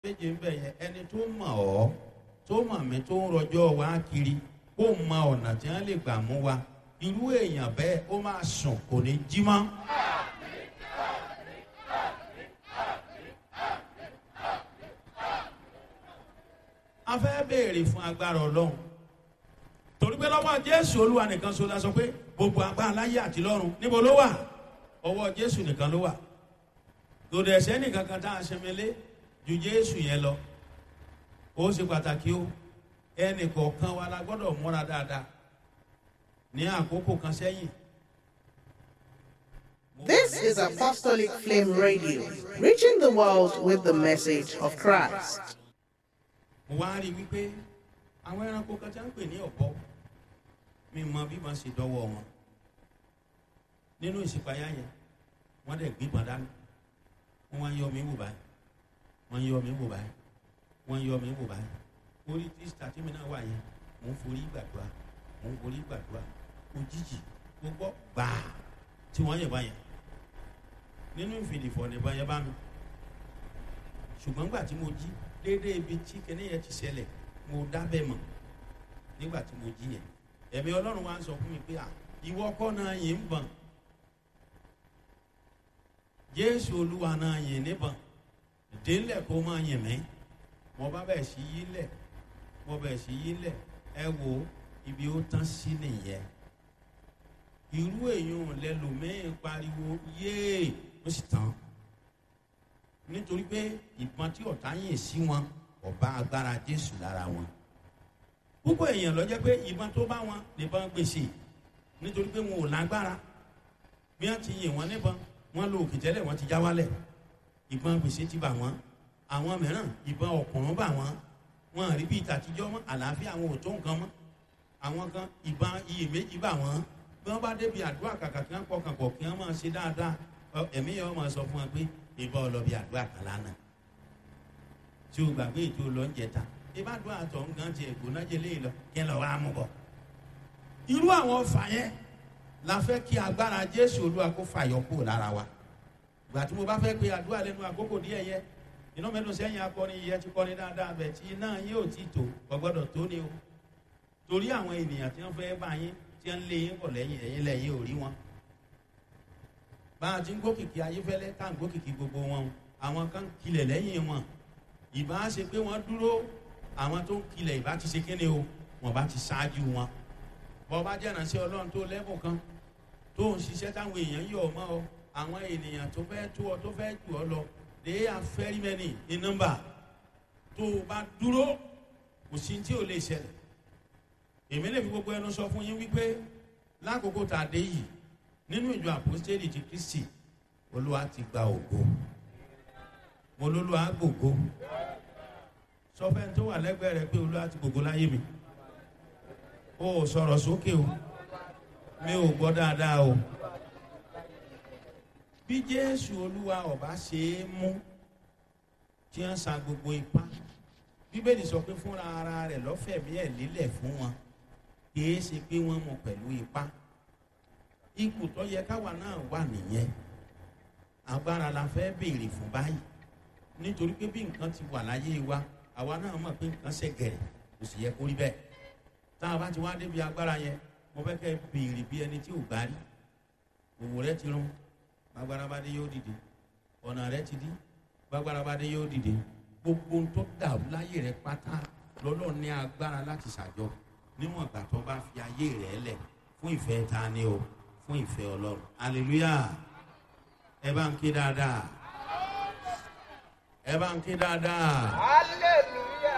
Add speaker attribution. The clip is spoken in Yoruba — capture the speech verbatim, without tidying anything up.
Speaker 1: Méje ń bẹ̀ yẹn, ẹni tó mọ̀ ọ́, tó mọ̀ mí, tó ń rọjọ́ wa kiri, kó mọ ọ̀nà tí wọ́n lè gbà mú wa, irú èèyàn bẹ́ẹ̀ ó máa sùn, kò ní jí mọ́. A fẹ́ béèrè fún agbára Ọlọ́run, torí pé lọ́wọ́ Jésù Olúwa nìkan ṣo la sọ pé gbogbo agbára láyé àti lọ́run, níbo ló wà? Ọwọ́ Jésù nìkan ló wà. Lòdì ẹ̀sẹ̀ nìkan kan tá a ṣẹmẹlé ju Jésù yẹn lọ. Ó ṣe pàtàkì o. Ẹnì kọ̀ọ̀kan wa la gbọ́dọ̀ múra dáadáa ní àkókò kan sẹ́yìn.
Speaker 2: This is Apostolic Flame Radio, reaching the world with the message of Christ.
Speaker 1: Mo wá rí i wípé àwọn ẹranko kan tí wọ́n ń pè ní ọ̀bọ, mi mọ bí wọ́n ṣe dọ́wọ́ wọn nínú ìṣípayá yẹn. Wọ́n dẹ̀ gbígbọn dání, wọ́n wá ń yọ mí wò báyìí, wọ́n ń yọ mí wò báyìí, wọ́n ń yọ mí wò báyìí. Orí tíṣà tí mi náà wà yẹn, mò ń forí gbàdúrà, mò ń forí gbàdúrà. Òjijì, mo gbọ́ gbàá tí wọ́n yẹ̀ báyẹn nínú ìfìdìfọ̀ nìbọn yẹn bá mi. Ṣùgbọ́n gbà tí mo jí déédéé, ibi tí kinní yẹn ti ṣẹlẹ̀, mo dábẹ́ mọ̀. Nígbà tí mo jí yẹn, ẹ̀mí Ọlọ́run wá ń sọ fún mi pé, à, ìwọ kọ́ náà yìí ń bọ̀n, Jésù Olúwa náà yìí níbọn, délẹ̀ kó máa yìn mí. Mo bá bẹ̀ sí yí lẹ̀, mo bẹ̀ sí yí lẹ̀. Ẹ wo ibi ó tán sí nìyẹn. Irú èèyàn lẹlòmíín pariwo yéè, ó sì tán, nítorí pé ìbọn tí ọ̀tá yìn sí wọn ọba agbára Jésù lára wọn. Púpọ̀ èèyàn ló jẹ́ pé ìbọn tó bá wọn nìbọn gbèsè, nítorí pé wọn ò lágbára. Bí wọ́n ti yìn wọ́n níbọn, wọ́n lo òkè tẹ́lẹ̀, wọ́n ti já wálẹ̀, ìbọn gbèsè ti bà wọ́n. Àwọn mìíràn, ìbọn ọ̀kùnrin bà wọ́n, wọn rí bí ìtàtijọ́ mọ́, àlàáfíà àwọn ò tó nǹkan mọ́. Àwọn kan, ìbọn iyèméjì bà wọ́n. Bí wọ́n bá débi àdúrà, kàkà kí wọ́n pọkàn pọ̀ kí wọ́n máa ṣe dáadáa, ẹ̀mí yẹn wọ́n máa sọ fún wọn pé ìbọn ọlọ́bì àdúrà kan lánàá tí o gbàgbé ètò lọ́njẹta ìbádùn àtọ̀ nǹkan ti ẹ̀gbọ́n jẹ lé lọ kí ẹ lọ wá mú bọ̀. Irú àwọn ọfà yẹn la fẹ́ kí agbára Jésù Olúwa kó fàyọ kúrò lára wa. Ìgbà tí mo bá fẹ́ pe àdúrà lẹ́nu àkókò díẹ̀ yẹ, iná mẹ́nu sẹ́yìn akọrin yẹ ti kọrin dáadáa bẹ̀ tí iná yín ò ti tò, kò gbọ́dọ̀ tó ni o. Torí àwọn ènìyàn tí wọ́n fẹ́ bá yín, tí wọ́n lé yín bọ̀ lẹ́yìn, ẹ̀yìn lẹ́yìn ò rí wọn. Bá a ti ń gòkìkì Ayéfẹ́lẹ́ tá à ń gòkìkì gbogbo wọn, àwọn kan kilẹ̀ lẹ́yìn wọn. Ìbá ṣe pé wọ́n dúró, àwọn tó ń kilẹ̀ ìbá ti ṣe kéde o, wọ́n bá ti ṣáájú wọn. Bọ́ bá jẹ́ràn sí Ọlọ́run tó lẹ́bùn kan tó ń ṣiṣẹ́ táwọn èèyàn yọ̀ mọ́ ọ, àwọn ènìyàn tó fẹ́ tó ọ, tó fẹ́ jù ọ lọ, they are very many in number. Tó o bá dúró, kò sí tí ò lè ṣẹlẹ̀. Èmi lè fi gbogbo ẹnu sọ fún yín wípé lákòókò tá a dé yìí nínú ìjọ Àpọ́stélì ti Kristi, Olúwa ti gba ògo. Mo lólúwa gbògo. Sọ fẹ́ni tó wà lẹ́gbẹ̀ẹ́ rẹ pé Olúwa ti gbògo láyé mi. O ò sọ̀rọ̀ sókè o, mi ò gbọ́ dáadáa o. Bí Jésù Olúwa ọba ṣe é mú tí wọ́n sa gbogbo ipá, Bíbélì sọ pé fúnra ara rẹ̀ lọ́fẹ̀mí ẹ̀ lílẹ̀ fún wọn, kì í ṣe pé wọ́n mú pẹ̀lú ipá. Ipò tó yẹ káwa náà wà nìyẹn. Agbára la fẹ́ béèrè fún báyìí, nítorí pé bí nǹkan ti wà láyé wa, àwa náà mọ̀ pé nǹkan ṣe gẹ̀rẹ̀, kò sì yẹ kó rí bẹ́ẹ̀. Tá a bá ti wá débi agbára yẹn, mo fẹ́ kẹ́ béèrè bí ẹni tí ò gbá rí. Òwò rẹ ti rún, gbàgbára bá dé, yóò dìde. Ọ̀nà rẹ ti dí, gbàgbára bá dé, yóò dìde. Gbogbo ohun tó dàrú láyé rẹ pátá lọ́lọ́ ní agbára láti ṣàjọ, níwọ̀n ìgbà tó bá fi ayé rẹ lẹ̀ fún ìfẹ́ ta ni o, fún ìfẹ́ Ọlọ́run. Hallelujah! Ẹ bá ń ké dáadáa, ẹ bá ń ké dáadáa.
Speaker 3: Hallelujah.